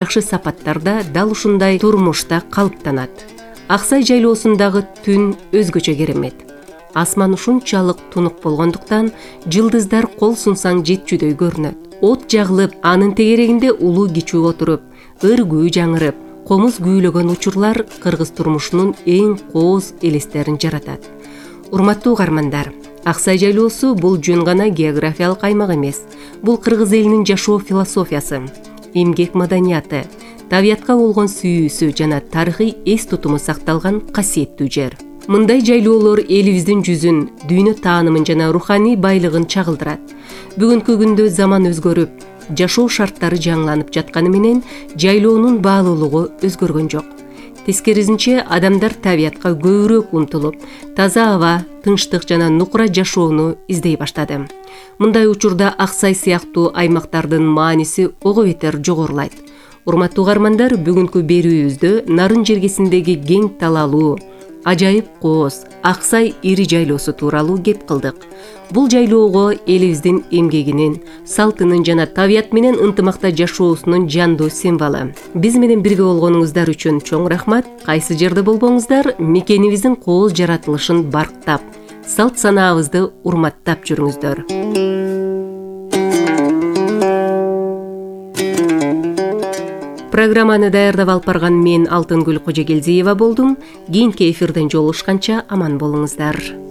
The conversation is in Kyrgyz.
жакшы сапаттарда дал ушундай турмушта калыптанат. Аксай жайлоосундагы түн өзгөчө керемет. Асман ушунчалык тунук болгондуктан жылдыздар кол сунсаң жетчүдөй көрүнөт. От жагылып, анын тегерегинде улуу кичүү отуруп, ыр-күү жаңырып, комуз күүлөгөн учурлар кыргыз турмушунун эң кооз элестерин жаратат. Урматтуу угармандар, Аксай жайлоосу бул жөн гана географиялык аймак эмес. Бул кыргыз элинин жашоо философиясы, эмгек маданияты, табиятка болгон сүйүүсү жана тарыхый эс тутуму сакталган касиеттүү жер. Мындай жайлоолор элибиздин жүзүн, дүйнө таанымын жана руханий байлыгын чагылдырат. Бүгүнкү күндө заман өзгөрүп, жашоо шарттары жаңыланып жатканы менен жайлоонун баалуулугу өзгөргөн жок. Тескерисинче, адамдар табиятка көбүрөөк умтулуп, таза аба, тынчтык жана нукура жашоону издей баштады. Мындай учурда Аксай сыяктуу аймактардын мааниси ого бетер жогорулайт. Урматтуу угармандар, бүгүнкү берүүбүздө Нарын жергесиндеги кең талаалуу, ажайып кооз Аксай ири жайлоосу тууралуу кеп кылдык. Бул жайлоого элибиздин эмгегинин, салтынын жана табият менен ынтымакта жашоосунун жандуу символу. Биз менен бирге болгонуңуздар үчүн чоң рахмат. Кайсы жерде болбоңуздар, мекенибиздин кооз жаратылышын барктап, салт санаабызды урматтап жүрүңүздөр. Программаны даярдап алып барган мен Алтынгүл Кожогелдиева болдум. Кийинки эфирден жолугушканча аман болуңуздар.